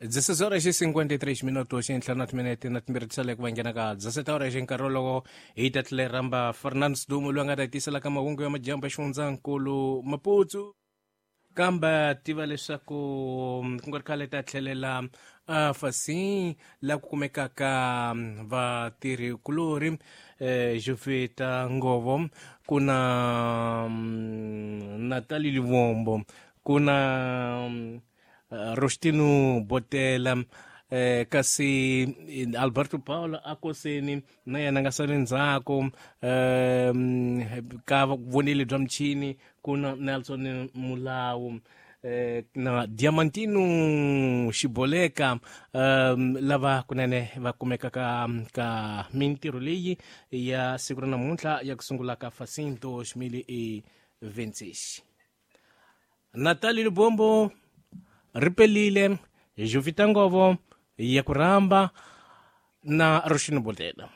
16 horas e 53 minutos ntlhanu na timinete na timbirhi tisale ku va nghena ka 17 horas nkarhi wolowo hi ta tlhela hi rhamba Fernando Sidumo loyi a nga ta hi tisela ka mahungu ya madyambu ya xifundzankulu Maputo. Kambe tiva leswaku ku nga ri khale ta tlhelela afasi la ku kumekaka vatirhi-kulorhi Jovita Ngovo, ku na Natali Livombo, ku na Rostino Botela, kasi Alberto Paulo Akoseni na yena a nga sali ndzhaku. Ka voneli bya michini ku na Nelson Mulawu na Diamantino Xiboleka, lava kunene va kumekaka ka mintirho leyi ya siku ra namuntlha ya ku sungula ka Facim 2026. Natali Lubombo ri pelile, Jovita Ngovo ya ku rhamba na Roshini Botela.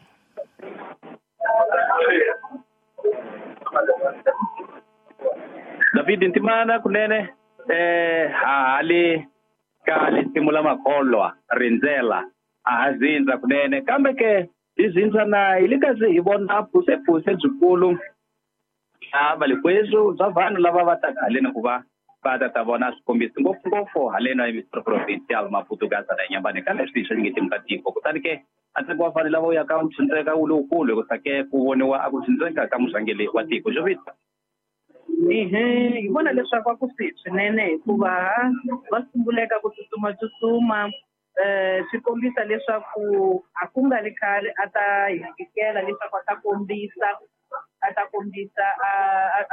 David Ntimana kunene hali ka lisimu la makholwa rindzela a ha zindza kunene, kambe ke hi zindza na hi le kazi hi vona phuse byikulu bya valikweswo bya vanhu lava va taka haleni ku va va ta ta vona swikombiso ngopfungopfu haleni a Ministro Provincial Maputo Gaza na Nyambane ka leswi swi nge ka tiko. Kutani ke a ntsengo wa vanhu lava wu yaka wu tshundzeka wu lowukulu hikusa ke ku voniwa a ku tshundzeka ka murhangeri wa tiko. Jovita. Ehe, hi vona leswaku a ku swi swinene hikuva va sunguleka ku tsutsuma swi kombisa leswaku a ku nga ri khale a ta hi fikela leswaku a ta kombisa a ta kombisa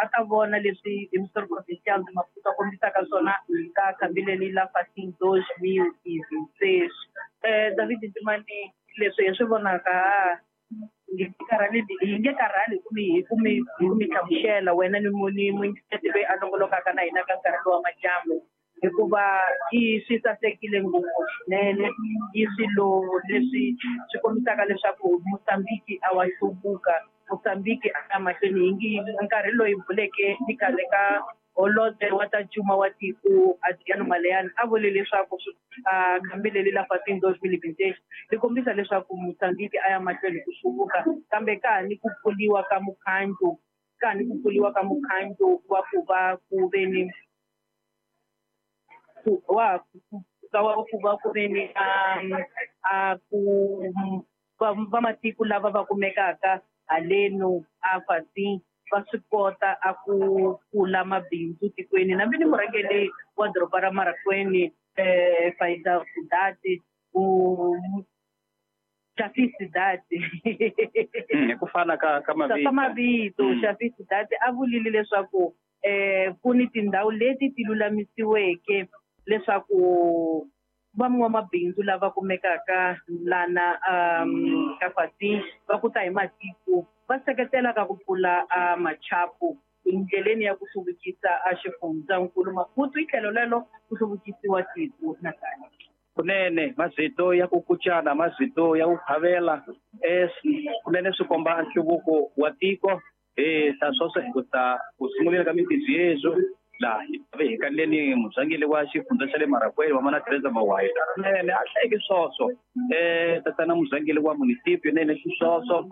a ta vona leswi Ministro Provincial de Maputo a kombisaka swona ka khambi leri la Facim 2026. David Ntimani, leswi hi swi vonaka hi nge karhali hi ku mi hlamusela wena ni muyingiseri loyi a longolokaka na hina ka nkarhi lowu wa madyambu, hikuva i swi sasekile ngopfu swinene. I swilo leswi swi kombisaka leswaku Mozambique a wa hluvuka, Mozambique a ya mahlweni. Hi ngi nkarhi loyi buleke ni khale ka holobye wa ta cuma wa tiko Adriano Maleiane a vule leswaku khambi leri la Facim 2026 ri kombisa leswaku Mozambique a ya mahlweni ku hluvuka, kambe ka ha ni ku pfuriwa ka mukhandlu, ka ha ni ku pfuriwa ka mukhandlu wa ku va ku ve ni wa ku va ku ve ni a ku va matiko lava va kumekaka haleno a Facim va swi kota a ku pfula mabindzu tikweni. Nambi ni murhangeri wa doroba ra Marraquene Faida Sidati u Shafi Sidati hi ku fana ka ka mavito ka mavito Shafi Sidati a vulile leswaku ku ni tindhawu leti ti lulamisiweke leswaku van'wamabindzu lava kumekaka lana ka Facim va ku ta hi matiko va seketela ka ku pfula machapu endleleni ya ku hluvukisa a xifundzankulu Maputo, hi tlhelo lelo ku hluvukisiwa tiko nakambe. Kunene mazito ya ku kucana, mazito ya ku khavela kunene swi komba nhluvuko wa tiko. Ta swoswo hi ku ta ku sunguleni ka mintirho yeswo laha hi ve hi kaneleni murhangeri wa xifundza xa le Marraquene wa Mana Teresa Mawai nene a hlayeke swoswo tatana murhangeri wa municipio nene xiswoswo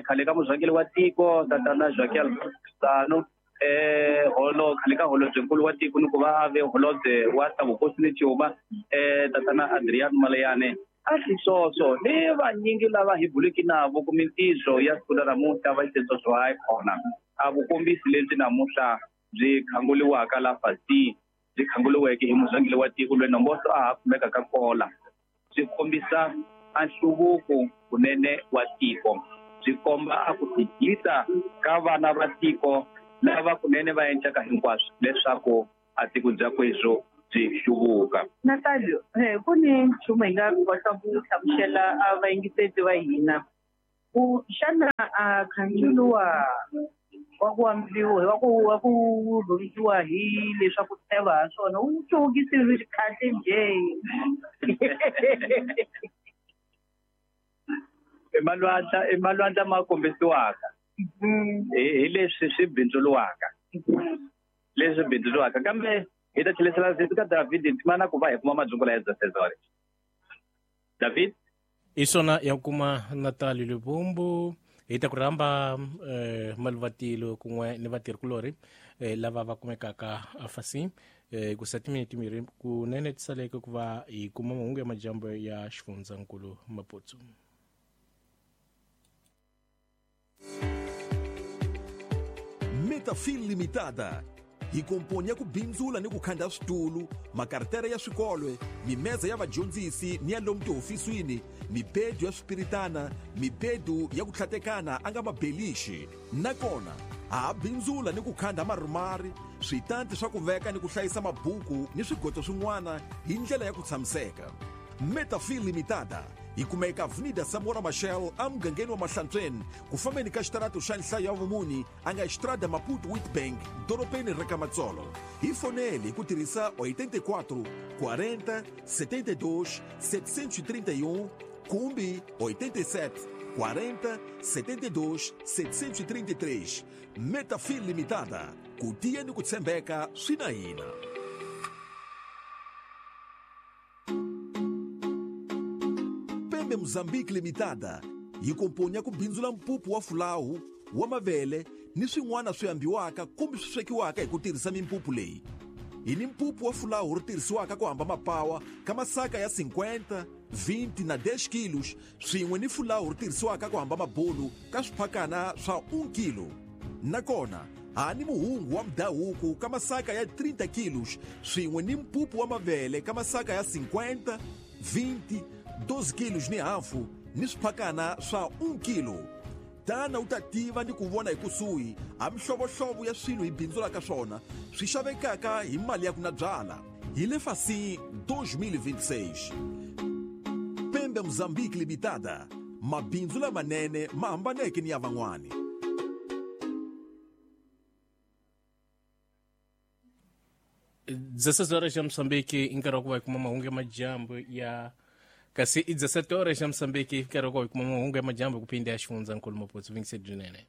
khale ka murhangeri wa tiko tatana Joaquim Chissano holo khale ka holobyenkulu wa tiko ni ku va a ve holobye wa ta vukosi ni cuma tatana Adriano Maleiane a xiswoswo ni vanyingi lava hi buleke navo ku mintirho ya siku ra namuntlha va xiswoswo hayi kona a vukombisi lebyi namuntlha byi khanguriwaka la Facim byi khanguriweke hi murhangeri wa tiko loyi nomboso a ha kumeka ka kola byi kombisa a nhluvuko kunene wa tiko, byi komba a ku tigisa ka vana va tiko lava kunene va endlaka hinkwaswo leswaku a tiko bya kweswo byi hluvuka. Natalio, ku ni nchumu hi nga kota ku hlamusela a vayingiseri va hina ku xana a khandzulu wa ku ambiwa wa ku rhungiwa hi leswaku teva ha swona wu hluvukisiwe kahle njhe? I malwandla ma kombisiwaka hi leswi swi bindzuriwaka, leswi bindzuriwaka, kambe Hi ta tlherisela zito ka David Ntimana ku va hi kuma madzungula ya Dzasezore. David? Hi swona ya kuma Natali Lubumbu hi ta ku rhamba maluvatilo kun'we ni vatirhikulorhi lava va kumekaka afasi ku sa timinete timbirhi kunene tisaleke ku va hi kuma mahungu ya majambu ya xifundzankulu Maputsu. Metafil Limitada hi komponi ya ku bindzula ni ku khanda switulu, makartere ya swikolwe, mimeza ya vadyondzisi ni ya lomu tihofisini, mibedu ya swipiritana, mibedu ya ku tlhatekana a nga mabelixi. Nakona ha bindzula ni ku khanda marumari, switanti swa ku veka ni ku hlayisa mabuku ni swigoto swin'wana hi ndlela ya ku tshamiseka. Metafil Limitada hi kumeka Avenida Samora Machel emugangeni wa Mahlantsweni ku fambeni ka xitarato xa nhlayo ya vumuni a nga Estrada Maputo Witbank dorobeni ra ka Matsolo. Hi fonele hi ku tirhisa 84 40 72 731 kumbe 87 40 72 733. Metafil Limitada, ku tiya ni ku tshembeka swi na hina. Pembe Mozambique Limitada yi komponi ya ku bindzula mpupu wa fulawu wa mavele ni swin'wana swi ambiwaka kumbe swi swekiwaka hi ku tirhisa mimpupu leyi. Hi ni mpupu wa fulawu ri tirhisiwaka ku hamba mapawa ka masaka ya 50, 20 na 10 kilos swin'we ni fulawu ri tirhisiwaka ku hamba mabulu ka swiphakana swa 1 kilo. Nakona ha ni muhungu wa mudhahuku ka masaka ya 30 kilos swin'we ni mpupu wa mavele ka masaka ya 50, 20, 12 kilos ni hafu ni swiphakana swa 1 kilo. Tana u ta tiva ni ku vona hi kusuhi ha mihlovohlovo ya swilo hi bindzulaka swona swi xavekaka hi mali ya ku na byala. Hi le Fasi 2026. Pembe Mozambique Limitada, mabindzu lamanene ma hambaneke ni ya van'wani. 16 horas xa Moçambique i nkarhi wa ku va hi kuma mahungu ya majambu ya kasi i 17 horas xa Moçambique i nkarhi wa ku va hi kuma mahungu ya majambu ku phinda ya xifundzankulu Maputsu vingisedyinene.